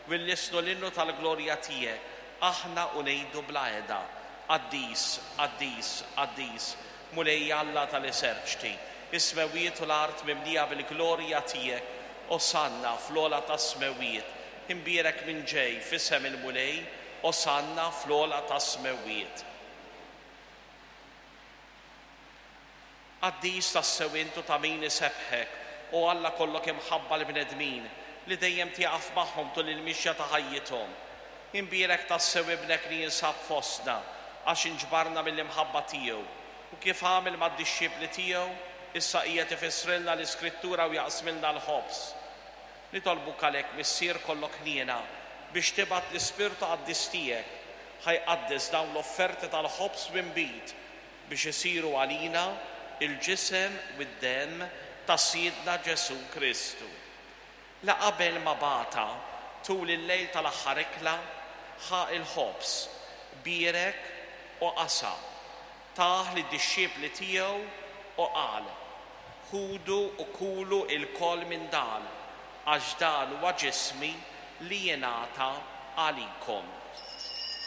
U nlissnu l-innu tal-glorja tiegħek, aħna u ngħidu bla heda, Qaddis, qaddis, qaddis, Mulej Alla tal-eżerċti, is-smewwiet u l-art mimlija bil-glorja tiegħek, Osanna fl-ogħla tas-smewwiet. Imbierek min ġej f'isem il-Mulej, Osanna fl-ogħla tas-smewwiet. Qaddis tassew int u ta' min isebbħek, o Alla kollok imħabba l-bnedmin, li dejjem tieqaf magħhom tul il-mixja ta' ħajjithom. Imbierek tassew Ibnek li jinsab fostna, għax inġbarna mill-imħabba tiegħu, u kif għamel mad-dixxipli tiegħu, issa qiegħed ifissrilna l-Iskrittura u jaqsmilna l-ħobż. Nitolbuk għalhekk, Missier kollok ħniena, biex tibgħat l-Ispirtu Qaddis tiegħek, ħa jqaddes dawn l-offerti tal-ħobż u nbid, biex isiru għalina l-ġisem u d-demm ta' Sidna Ġesù Kristu. Li qabel ma bata, tul il-lejl tal-aħħar ikla, ħa l-ħobż, bierek u qasam, tah lid-dixxipli tiegħu u qal, Ħudu u kulu lkoll minn dan, għax dan huwa ġismi li jingħata għalikom.